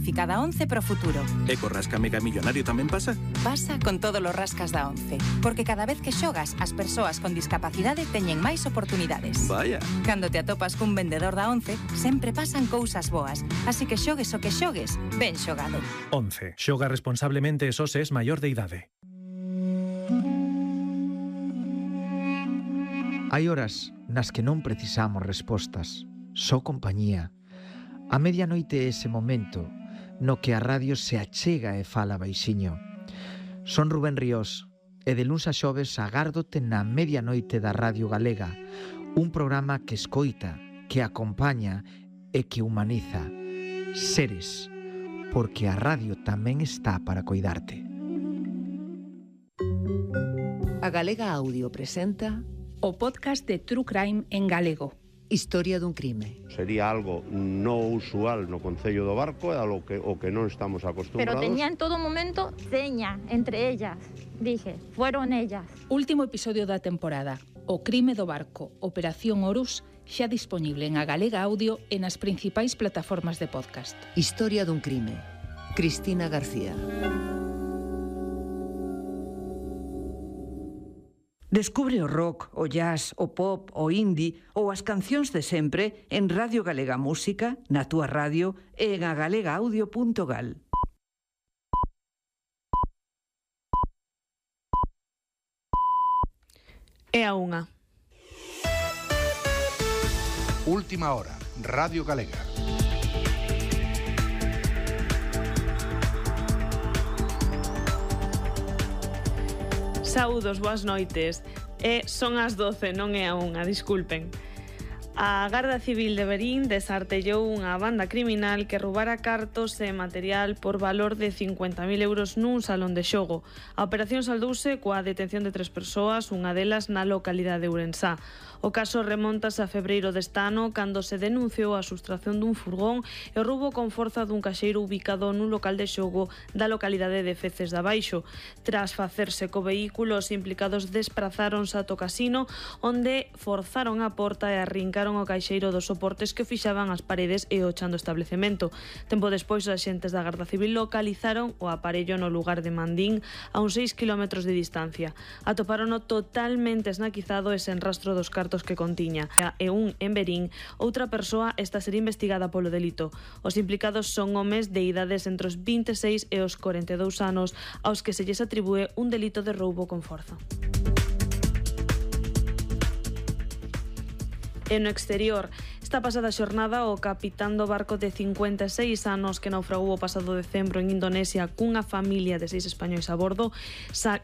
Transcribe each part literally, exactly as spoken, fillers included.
bonificada once pro futuro. E co rasca mega millonario tamén pasa? Pasa con todos os rascas da once, porque cada vez que xogas, as persoas con discapacidade teñen máis oportunidades. Vaya. Cando te atopas cun vendedor da once, sempre pasan cousas boas, así que xogues o que xogues, ben xogado. once. Xoga responsablemente e só se es maior de idade. Hai horas nas que non precisamos respostas, só compañía. A medianoite é ese momento no que a radio se achega e fala baixiño. Son Rubén Ríos e de luns a xoves agárdote na medianoite da Radio Galega, un programa que escoita, que acompaña e que humaniza. Seres, porque a radio tamén está para coidarte. A Galega Audio presenta o podcast de True Crime en galego. Historia dun crime. Sería algo no usual no Concello do Barco, é algo que, o que non estamos acostumbrados. Pero tenía en todo momento seña entre ellas. Dije, fueron ellas. Último episodio da temporada. O crime do barco, Operación Horus, xa disponible en A Galega Audio e nas principais plataformas de podcast. Historia dun crime. Cristina García. Descubre o rock, o jazz, o pop, o indie ou as cancións de sempre en Radio Galega Música, na túa radio e en agalegaudio punto gal. É a unha. Última hora, Radio Galega. Saúdos, boas noites. E son as doce, non é a unha, disculpen. A Garda Civil de Verín desartellou unha banda criminal que roubara cartos e material por valor de cincuenta mil euros nun salón de xogo. A operación saldouse coa detención de tres persoas, unha delas na localidade de Ourensá. O caso remontase a febreiro deste ano, cando se denunciou a sustracción dun furgón e o roubo con forza dun caixeiro ubicado nun local de xogo da localidade de Feces de Abaixo. Tras facerse co vehículo, os implicados desprazáronse ata o casino, onde forzaron a porta e arrincaron o caixeiro dos soportes que fixaban as paredes e o chan do establecemento. Tempo despois, os axentes da Garda Civil localizaron o aparello no lugar de Mandín, a uns seis kilómetros de distancia. Atopárono totalmente esnaquizado e sen rastro dos cartos que contiña. E un en Verín, outra persoa está a ser investigada polo delito. Os implicados son homes de idades entre os vinte e seis e os corenta e dous anos, aos que se lles atribúe un delito de roubo con forza. E no exterior, esta pasada xornada, o capitán do barco de cincuenta e seis anos que naufragou o pasado decembro en Indonesia cunha familia de seis españois a bordo,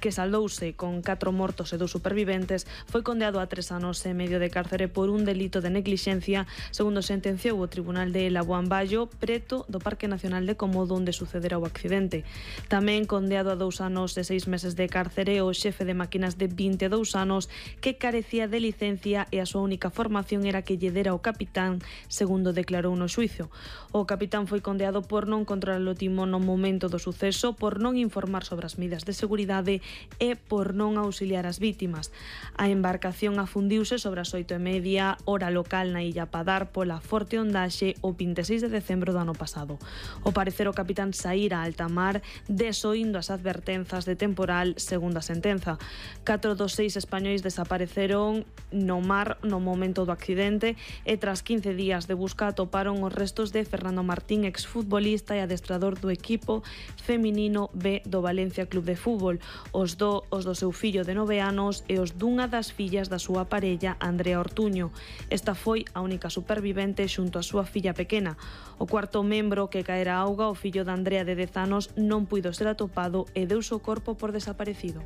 que saldouse con catro mortos e dous superviventes, foi condeado a tres anos e medio de cárcere por un delito de neglixencia, segundo sentenciou o Tribunal de Labuan Bayo, preto do Parque Nacional de Komodo, onde sucedera o accidente. Tamén condeado a dous anos e seis meses de cárcere o xefe de máquinas de vinte e dous anos, que carecía de licencia e a súa única formación era que lle dera o capitán, segundo declarou no xuizo. O capitán foi condeado por non controlar o timón no momento do suceso, por non informar sobre as medidas de seguridade e por non auxiliar as vítimas. A embarcación afundiuse sobre as oito e media, hora local na Illa Padar, pola forte ondaxe o vinte e seis de decembro do ano pasado. O parecer, o capitán saíra a alta mar desoindo as advertenzas de temporal, segundo a sentenza. Catro dos seis españois desapareceron no mar no momento do accidente e tras quince días de busca atoparon os restos de Fernando Martín, exfutbolista e adestrador do equipo feminino B do Valencia Club de Fútbol, os do, os do seu fillo de nove anos e os dunha das fillas da súa parella, Andrea Ortuño. Esta foi a única supervivente xunto a súa filla pequena. O cuarto membro que caera a auga, o fillo de Andrea de dez anos, non puido ser atopado e deuse o corpo por desaparecido.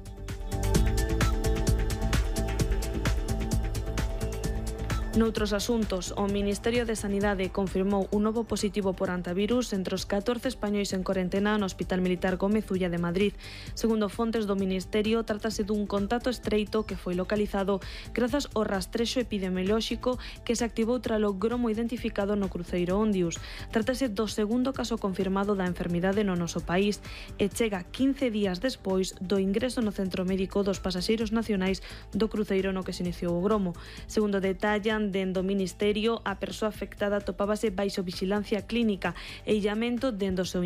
Noutros asuntos, o Ministerio de Sanidade confirmou un novo positivo por antivirus entre os catorce españois en corentena no Hospital Militar Gómez Ulla de Madrid. Segundo fontes do Ministerio, trátase dun contacto estreito que foi localizado grazas ao rastrexo epidemiolóxico que se activou tralo gromo identificado no cruceiro Ondius. Trátase do segundo caso confirmado da enfermidade no noso país e chega quince días despois do ingreso no centro médico dos pasaxeiros nacionais do cruceiro no que se iniciou o gromo. Segundo detallan dende o Ministerio, a persoa afectada atopábase baixo vixilancia clínica e illamento dende o seu